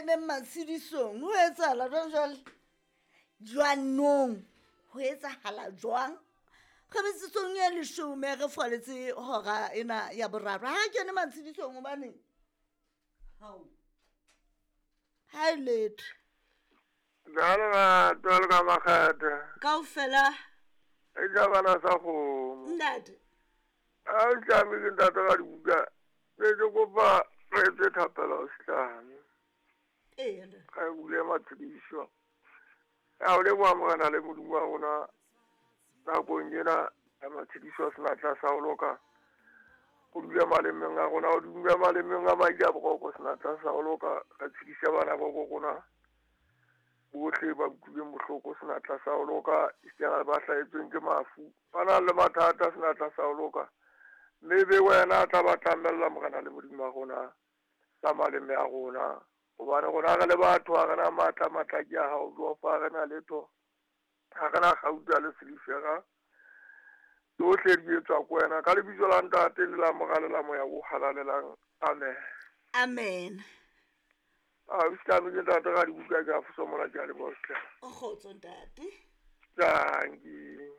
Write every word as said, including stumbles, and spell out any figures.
keneng matshedisong. Ho etsahala jwang jwale? Jwanong ho etsahala jwang? Re metsotsong e leshome re foletse hora ena ya boraro. Ha re kene matshedisong hobaneng? Hao. Ha e letho. Jwalo jwalo ka makgethe. Kaofela. E jabana sa kgomo. Ntate. Ha o tlame ke ntate ka dibuka. Ne ke kopa re etse thapelo setlame. Ee, ntate. Re bule matshediso. Ya o leboha Morena le Modimo wa rona nakong ena ya matshediso a senatla sa ho loka. O dule malemeng a rona, o dule malemeng a madi a boroko senatla sa ho loka. Re tshedisa bana ba bo rona bohle ba utlwileng bohloko senatla sa ho loka, esitana le ba hlahetsweng ke mafu, ba nang le mathata senatla sa ho loka. Mme be wena a tla ba tlamella Morena le Modimo wa rona ka maleme a rona. Hobane rona re le batho ha re na matla, matla ke a hao, Jehova, ha re na letho, ha re na kgauta le silifera. Tsohle di etswa ke wena. Ka lebitso la Ntate le la Mora le la Moya o Halalelang. Amen. Amen. Ah, o siame ke ntate ka dibuka ke a fosa mona, ke a leboha hle. O kgotso ntate. Dankie.